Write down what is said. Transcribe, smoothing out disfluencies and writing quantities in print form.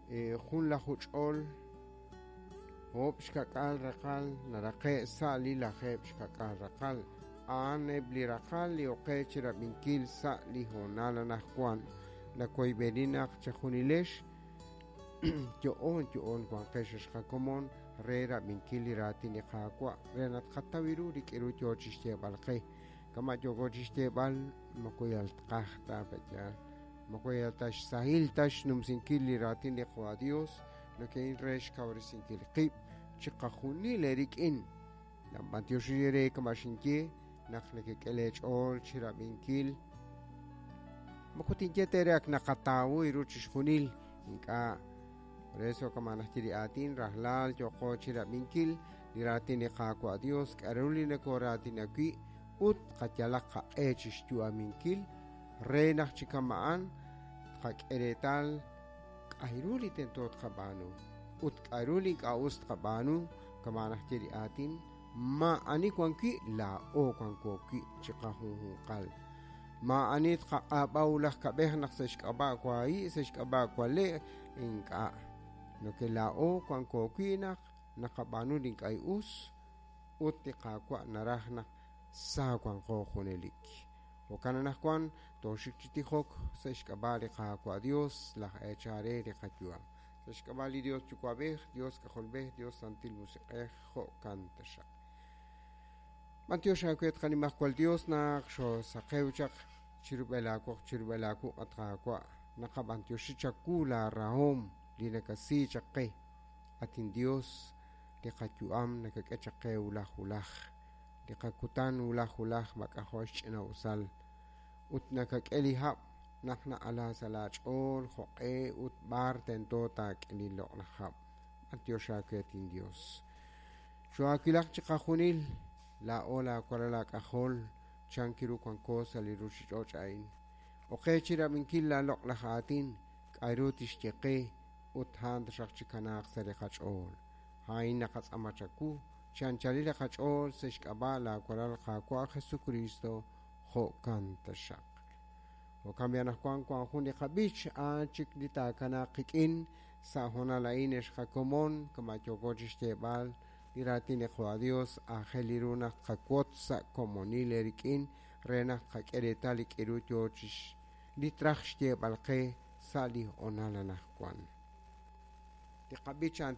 Junlaju ch'ol oob' xka'k'aal raqal naraqe' sa' li lajeeb' xka'k'aal raqal. A'an eb' li raqal li oqe chirab'inkil sa' li hoonal anaqwan. Nawoyb'eni naq chejunilex yo'oon yo'oon wanqex ex qakomon re rab'inkil li raatin li Qaawa' re naq tqataw ru li k'aru yo chi xyeeb'al qe. Kama' yooko chi xyeeb'al moko yal tqaj ta pe'yaal, moko yal ta xsahil ta xnumsinkil li raatin li Qaawa' Dios, noke'in re xkawresinkil qib' chiqajunil eerik'in. B'antioxi eere kama' xinye naq nekek'e leech'ool chirab'inkil. Moko tinye teere ak naqatawu ru chixjunil, ink'a'. Por eso kama' naxye li aatin rajlal yooqo chirab'inkil li raatin li Qaawa' Dios k'aru li nokoraatina wi' ut qayalaq qaq'e chi xyu'aminkil re naq chi kama'an tqak'e reetal k'aru li tento tqab'aanu ut k'aru li ink'a' us tqab'aanu kama' naxye li aatin maa'ani wan wi' laa'o wanko wi' chiqajunjunqal. Maa'ani tqaq'ab'a wulaj kab'ej naq sa' xk'ab'a' wahi' sa' xk'ab'a' wale' ink'a'. Noke laa'o wanko wi' naq naqab'aanu li ink'a' us ut li Qaawa' naraj naq sa wanqo junelik. Jo'kan anaqwan tooxik chi tijok sa' xk'ab'a' li Qaawa' Dios laj eechal re li qayu'am. Sa' xk'ab'a' li Dios Yuwa'b'ej, Dios K'ajolb'ej, Dios Santil Musiq'ej, jo'kan taxaq. B'antiox aawe tqanimajwal Dios naq xoosaqew chaq chirub'el aawoq chirub'el aawuq' at Qaawa'. Naqab'antioxi chawu laarahom li nakasi chaq qe. At inDios, li qayu'am nakak'e chaq qe wulaj wulaj. Li qakutan wulaj wulaj mak'ajo' xch'ina'usal. Ut nakak'e li hab' naq na'ala sa' laach'ool jo'q'e ut b'ar tento taak'e li loq'laj hab'. B'antiox aawe at inDios. Choohaawilaq chiqajunil laa'o laawalal aak'ajol chan kiru wanko sa' li ruuchich'och' a'in. Oqe chirab'inkil laaloq'laj aatin k'aru tixye qe ut a'an taxaq chikanaaq sa' li qach'ool. A'in naqatz'aama chawu chi anchalil li qach'ool sa' xk'ab'a' laawalal Qaawa' Jesucristo, jo'kan taxaq. Jo'kan b'i anaqwan wank jun li qab'ich a'an chik li taakanaaq qik'in sa' hoonal a'in ex qakomon kama' yooko chi xyeeb'al li raatin li Qaawa' Dios aajel ru naq tqawotz sa' komonil eerik'in re naq tqak'e reetal li k'aru yo chi li traj xyeeb'al qe sa' li hoonal anaqwan. Li qab'ich a'an.